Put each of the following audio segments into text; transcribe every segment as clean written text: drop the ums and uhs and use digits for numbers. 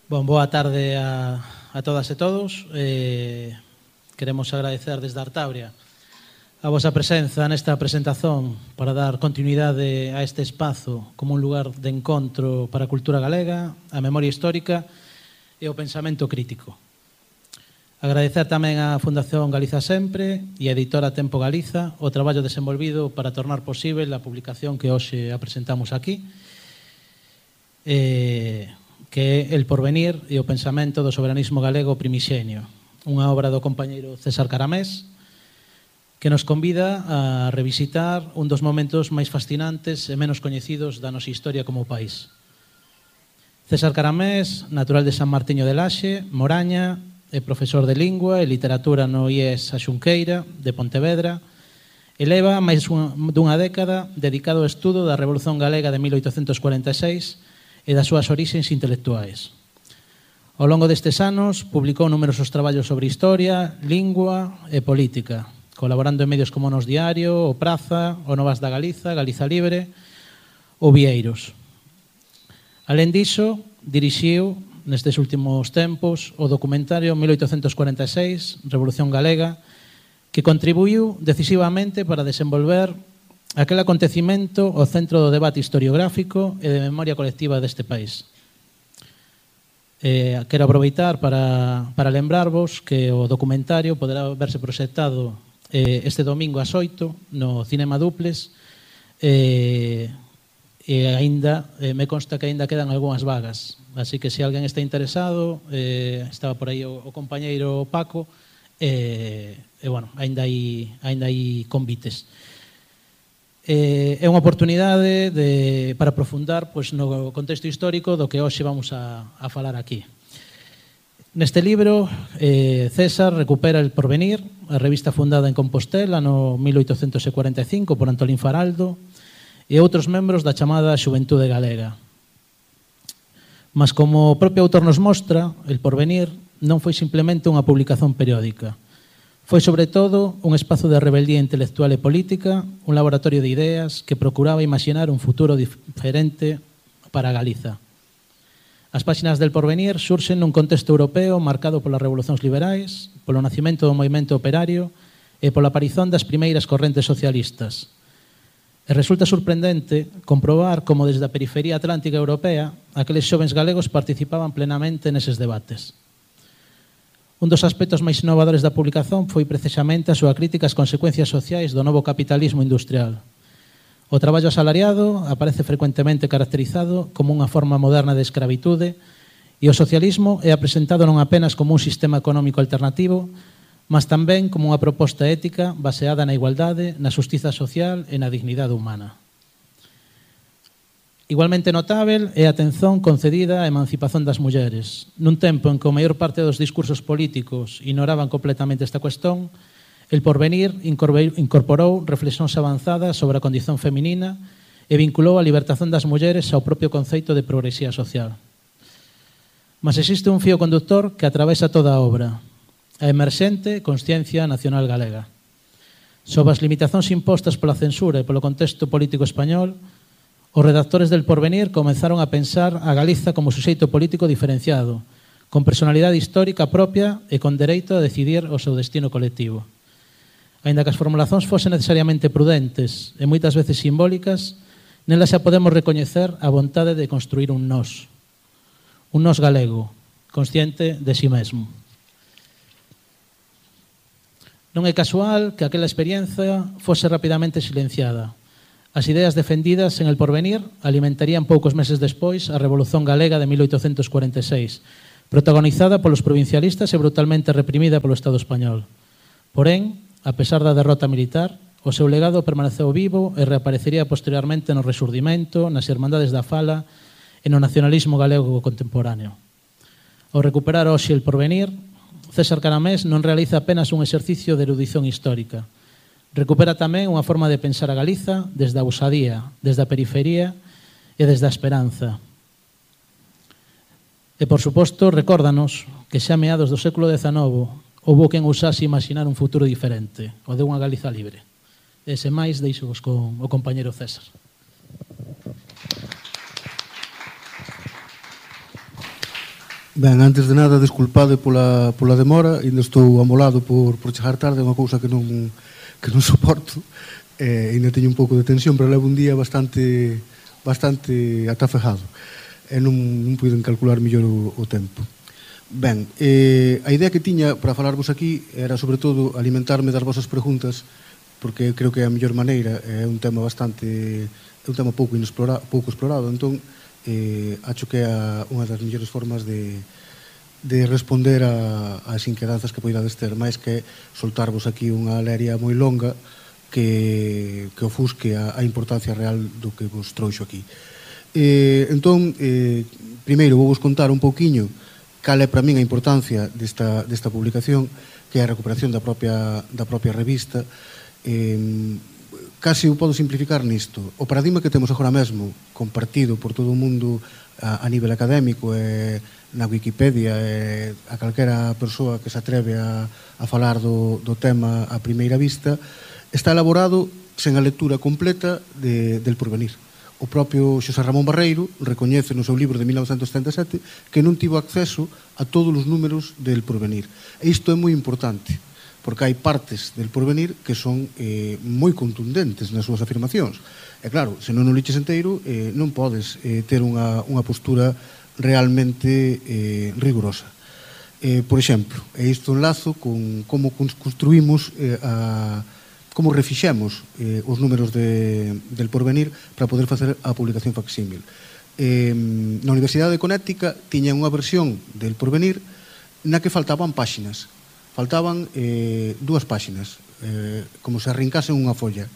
Boa tarde a todas e todos. Queremos agradecer desde Artabria a vosa presenza nesta presentación para dar continuidade a este espazo como un lugar de encontro para a cultura galega, a memoria histórica e o pensamento crítico. Agradecer tamén á Fundación Galiza Sempre e a editora Tempo Galiza o traballo desenvolvido para tornar posible a publicación que hoxe apresentamos aquí, que é El porvenir e o pensamento do soberanismo galego primixenio, unha obra do compañeiro César Caramés, que nos convida a revisitar un dos momentos máis fascinantes e menos coñecidos da nosa historia como país. César Caramés, natural de San Martiño de Laxe, Moraña, é profesor de Lingua e Literatura no IES A Xunqueira, de Pontevedra, e leva máis dunha década dedicado ao estudo da Revolución Galega de 1846 e das súas orixes intelectuais. Ao longo destes anos, publicou numerosos traballos sobre historia, lingua e política, colaborando en medios como Nos Diario, O Praza, O Novas da Galiza, Galiza Libre ou Vieiros. Alén diso, dirixiu nestes últimos tempos o documentario 1846, Revolución Galega, que contribuiu decisivamente para desenvolver aquel acontecimento ao centro do debate historiográfico e de memoria colectiva deste país. Quero aproveitar para lembrarvos que o documentario poderá verse proxectado este domingo ás 8 no Cinema Duples e aínda me consta que aínda quedan algunhas vagas, así que se alguén está interesado, estaba por aí o compañeiro Paco, bueno, aínda hai convites. É unha oportunidade para aprofundar no contexto histórico do que hoxe vamos a falar aquí. Neste libro, César recupera El porvenir, a revista fundada en Compostela no 1845 por Antolín Faraldo e outros membros da chamada Xuventude Galega. Mas como o propio autor nos mostra, El porvenir non foi simplemente unha publicación periódica. Foi, sobre todo, un espazo de rebeldía intelectual e política, un laboratorio de ideas que procuraba imaginar un futuro diferente para Galiza. As páxinas del porvenir surxen nun contexto europeo marcado polas revolucións liberais, polo nacimento do movimento operario e pola aparición das primeiras correntes socialistas. E resulta sorprendente comprobar como desde a periferia atlántica europea aqueles xovens galegos participaban plenamente neses debates. Un dos aspectos máis innovadores da publicación foi precisamente a súa crítica ás consecuencias sociais do novo capitalismo industrial. O traballo asalariado aparece frecuentemente caracterizado como unha forma moderna de escravitude e o socialismo é apresentado non apenas como un sistema económico alternativo, mas tamén como unha proposta ética baseada na igualdade, na xustiza social e na dignidade humana. Igualmente notável é a atención concedida á emancipación das mulleres. Nun tempo en que a maior parte dos discursos políticos ignoraban completamente esta cuestión, El porvenir incorporou reflexións avanzadas sobre a condición feminina e vinculou a libertación das mulleres ao propio conceito de progresía social. Mas existe un fío conductor que atravesa toda a obra, a emerxente consciencia nacional galega. Sob as limitacións impostas pola censura e polo contexto político español, os redactores del porvenir comenzaron a pensar a Galiza como suxeito político diferenciado, con personalidade histórica propia e con dereito a decidir o seu destino colectivo. Aínda que as formulacións fosen necesariamente prudentes e moitas veces simbólicas, nelas xa podemos recoñecer a vontade de construir un nós galego, consciente de si mesmo. Non é casual que aquela experiencia fose rapidamente silenciada. As ideas defendidas en El porvenir alimentarían poucos meses despois a Revolución Galega de 1846, protagonizada polos provincialistas e brutalmente reprimida polo Estado español. Porén, a pesar da derrota militar, o seu legado permaneceu vivo e reaparecería posteriormente no Resurdimento, nas Irmandades da Fala e no nacionalismo galego contemporáneo. Ao recuperar hoxe El porvenir, César Caramés non realiza apenas un exercicio de erudición histórica. Recupera tamén unha forma de pensar a Galiza desde a ousadía, desde a periferia e desde a esperanza. E, por suposto, recórdanos que xa a meados do século XIX houbo quen ousase imaginar un futuro diferente, o de unha Galiza libre. E sen máis, deixo-vos con o compañeiro César. Ben, antes de nada, desculpade pola demora, ainda estou amolado por chegar tarde, é unha cousa que non soporto, ainda teño un pouco de tensión, pero levo un día bastante atafejado, e non puiden calcular mellor o tempo. Ben, a idea que tiña para falarvos aquí era, sobre todo, alimentarme das vosas preguntas, porque creo que é a mellor maneira, é un tema pouco explorado, entón, acho que é unha das mellores formas de responder ás inquedanzas que poidades ter, máis que soltarvos aquí unha leria moi longa que ofusque a importancia real do que vos trouxo aquí. Entón, primeiro vou vos contar un pouquiño cal é para min a importancia desta publicación, que é a recuperación da propia revista. Casi o podo simplificar nisto. O paradigma que temos agora mesmo, compartido por todo o mundo a nivel académico e na Wikipedia e a calquera persoa que se atreve a falar do tema a primeira vista, está elaborado sen a lectura completa del Porvenir. O propio Xosé Ramón Barreiro recoñece no seu libro de 1977 que non tivo acceso a todos os números del Porvenir. E isto é moi importante, porque hai partes del Porvenir que son moi contundentes nas súas afirmacións. E claro, se non o liches inteiro, non podes ter unha postura realmente rigurosa. Por exemplo, e isto enlazo con como construímos como refixemos os números del Porvenir para poder facer a publicación facsímil. Na Universidade de Connecticut tiñan unha versión del Porvenir na que faltaban páxinas. Faltaban 2 páxinas, como se arrincasen unha folla.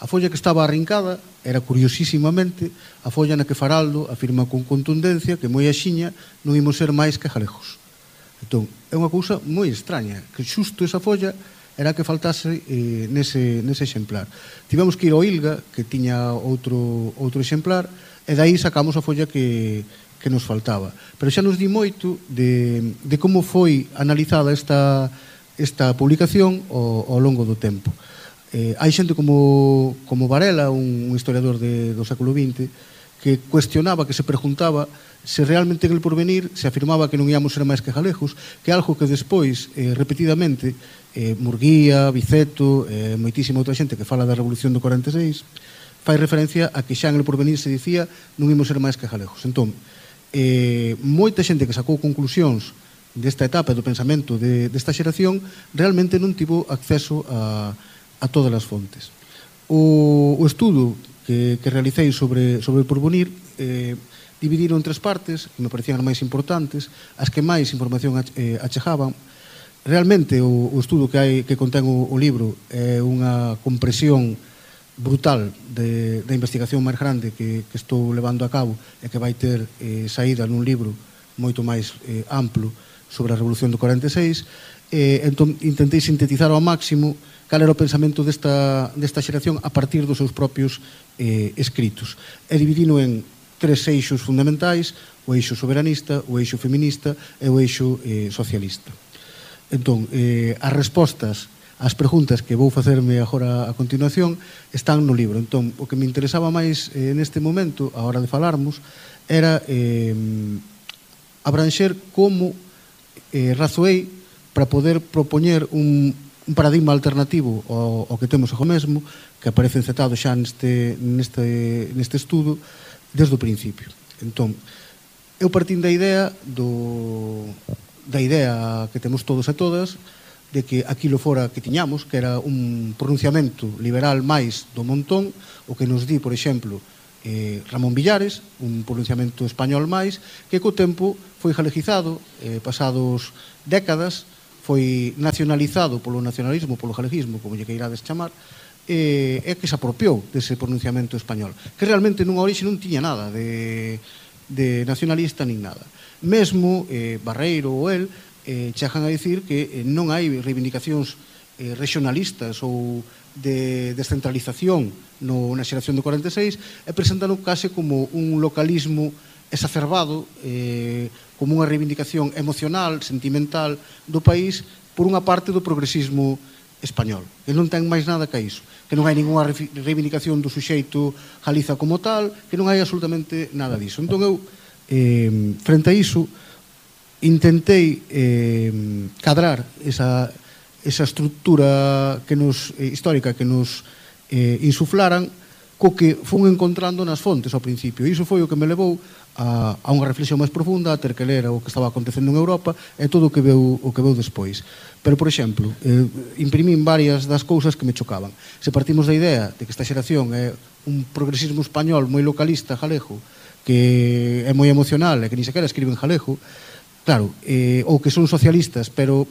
A folla que estaba arrincada era, curiosísimamente, a folla na que Faraldo afirma con contundencia que moi axiña non imos ser máis que galegos. Entón, é unha cousa moi extraña, que xusto esa folla era a que faltase nese exemplar. Tivemos que ir ao ILGA, que tiña outro exemplar, e daí sacamos a folla que nos faltaba. Pero xa nos di moito de como foi analizada esta publicación ao longo do tempo. Hai xente como Varela, un historiador do século XX, que cuestionaba, que se preguntaba se realmente en el Porvenir se afirmaba que non íamos ser máis que galegos, que é algo que despois, repetidamente, Murguía, Biceto, moitísima outra xente que fala da Revolución do 46, fai referencia a que xa en el Porvenir se dicía non íamos ser máis que galegos. Entón, moita xente que sacou conclusións desta etapa do pensamento desta xeración realmente non tivo acceso a todas as fontes. O estudo que realicei sobre o Porvenir dividiron en 3 partes que me parecían as máis importantes, as que máis información achegaban. Realmente o estudo que contén o libro é unha compresión brutal da investigación máis grande que estou levando a cabo e que vai ter saída nun libro moito máis amplo sobre a Revolución do 46. Entón, intentei sintetizar ao máximo cal era o pensamento desta xeración a partir dos seus propios escritos. E dividino en 3 eixos fundamentais: o eixo soberanista, o eixo feminista e o eixo socialista. Entón, as respostas ás preguntas que vou facerme agora a continuación están no libro. Entón, o que me interesaba máis neste momento, a hora de falarmos, era abranxer como razoei para poder propoñer un paradigma alternativo ao que temos agora mesmo, que aparece encetado xa neste estudo desde o principio. Entón, eu partín da idea que temos todos e todas, de que aquilo fora que tiñamos, que era un pronunciamento liberal máis do montón, o que nos di, por exemplo, Ramón Villares, un pronunciamento español máis, que co tempo foi galegizado, pasados décadas, foi nacionalizado polo nacionalismo, polo galeguismo, como lle queirades chamar, e que se apropiou dese pronunciamento español, que realmente nunha orixe non tiña nada de nacionalista nin nada. Mesmo Barreiro ou el chegan a dicir que non hai reivindicacións regionalistas ou de descentralización na xeración do 46, e presentan case como un localismo exacerbado, como unha reivindicación emocional, sentimental do país por unha parte do progresismo español, que non ten máis nada que iso, que non hai ninguna reivindicación do suxeito Galiza como tal, que non hai absolutamente nada diso. Entón eu, frente a iso, intentei cadrar esa estructura histórica que nos insuflaran co que fun encontrando nas fontes ao principio. Iso foi o que me levou a unha reflexión máis profunda, a ter que ler o que estaba acontecendo en Europa e todo o que veu despois. Pero, por exemplo, imprimín varias das cousas que me chocaban. Se partimos da idea de que esta xeración é un progresismo español moi localista, galego, que é moi emocional e que ni sequera escriben galego, claro, ou que son socialistas, pero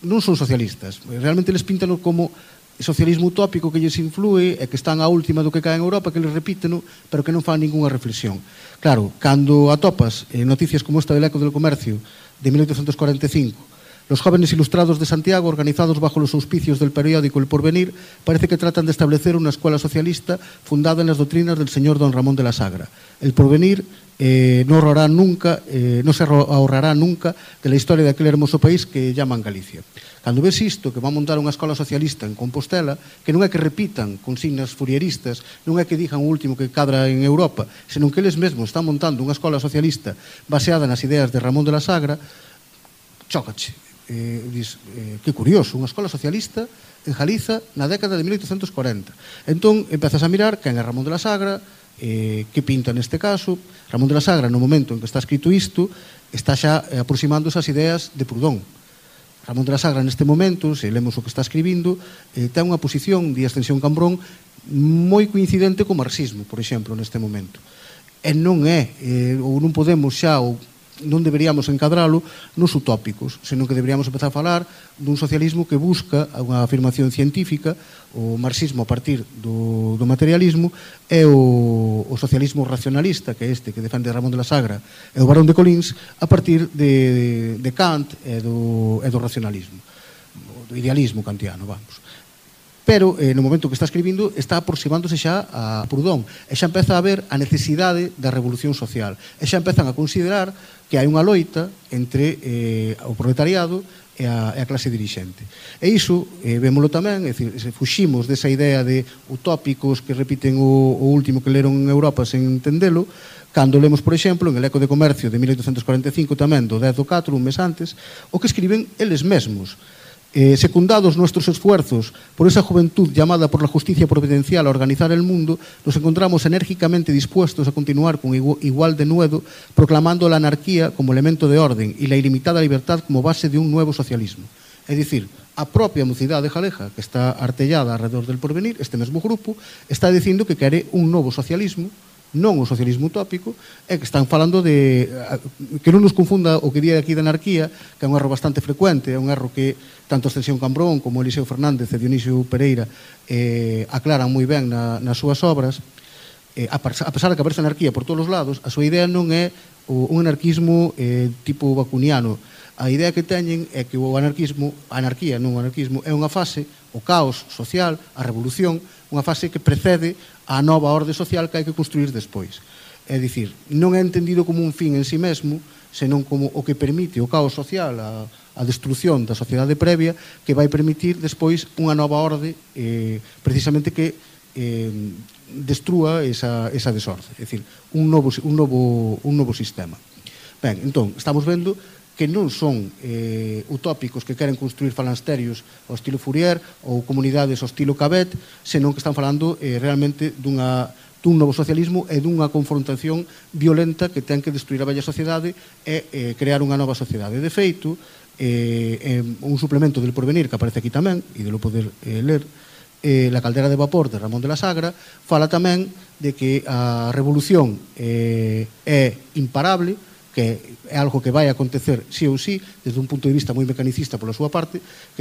non son socialistas. Realmente les píntano como socialismo utópico que lles influe e que están a última do que cae en Europa, que les repíteno, pero que non fan ninguna reflexión. Claro, cando atopas noticias como esta del Eco del Comercio de 1845, los jóvenes ilustrados de Santiago, organizados bajo los auspicios del periódico El Porvenir, parece que tratan de establecer una escuela socialista fundada en las doctrinas del señor don Ramón de la Sagra. El Porvenir no se ahorrará nunca de la historia de aquel hermoso país que llaman Galicia. Cando ves isto, que va a montar unha escola socialista en Compostela, que non é que repitan consignas furieristas, non é que digan o último que cadra en Europa, senón que eles mesmos están montando unha escola socialista baseada nas ideas de Ramón de la Sagra, chócache. Que curioso, unha escola socialista en Galiza na década de 1840. Entón, empezas a mirar quen é Ramón de la Sagra, que pinta neste caso. Ramón de la Sagra, no momento en que está escrito isto, está xa aproximándose ás ideas de Proudhon. Ramón de la Sagra, neste momento, se lemos o que está escribindo, ten unha posición de Ascensión Cambrón moi coincidente co marxismo, por exemplo, neste momento. E non é, ou non podemos xa, ou non deberíamos encadralo nos utópicos, senón que deberíamos empezar a falar dun socialismo que busca unha afirmación científica, o marxismo a partir do materialismo, e o socialismo racionalista, que é este que defende Ramón de la Sagra, e o Barón de Colins, a partir de Kant e do racionalismo, do idealismo kantiano, vamos. Pero no momento que está escribindo está aproximándose xa a Proudhon e xa empeza a ver a necesidade da revolución social e xa empezan a considerar que hai unha loita entre o proletariado e a clase dirixente. E iso, vémolo tamén, é dicir, fuximos desa idea de utópicos que repiten o último que leron en Europa sen entendelo, cando lemos, por exemplo, en el Eco de Comercio de 1845 tamén, do 10 do 4, un mes antes, o que escriben eles mesmos. Secundados nuestros esfuerzos por esa juventud llamada por la justicia providencial a organizar el mundo, nos encontramos enérgicamente dispuestos a continuar con igual denuedo, proclamando la anarquía como elemento de orden y la ilimitada libertad como base de un nuevo socialismo. É dicir, a propia mocidade galega, que está artellada alrededor del Porvenir, este mesmo grupo, está dicindo que quere un novo socialismo, non o socialismo utópico, e que están falando de que non nos confunda o que di aquí de anarquía, que é un erro bastante frecuente, é un erro que tanto Ascensión Cambrón como Eliseo Fernández e Dionisio Pereira aclaran moi ben nas súas obras. A pesar de que aparece anarquía por todos os lados, a súa idea non é un anarquismo tipo bacuniano. A idea que teñen é que a anarquía, non o anarquismo, é unha fase, o caos social, a revolución, unha fase que precede a nova orde social que hai que construir despois. É dicir, non é entendido como un fin en sí mesmo, senón como o que permite o caos social, a destrucción da sociedade previa, que vai permitir despois unha nova orde, precisamente que destrúa esa desorde. É dicir, un novo sistema. Ben, entón, estamos vendo que non son utópicos que queren construir falansterios ao estilo Fourier ou comunidades ao estilo Cabet, senón que están falando realmente dun novo socialismo e dunha confrontación violenta que ten que destruir a bella sociedade e crear unha nova sociedade. De feito, un suplemento del Porvenir que aparece aquí tamén, e de lo poder ler, La caldera de vapor de Ramón de la Sagra, fala tamén de que a revolución é imparable, que é algo que vai acontecer sí ou sí, desde un punto de vista moi mecanicista pola súa parte,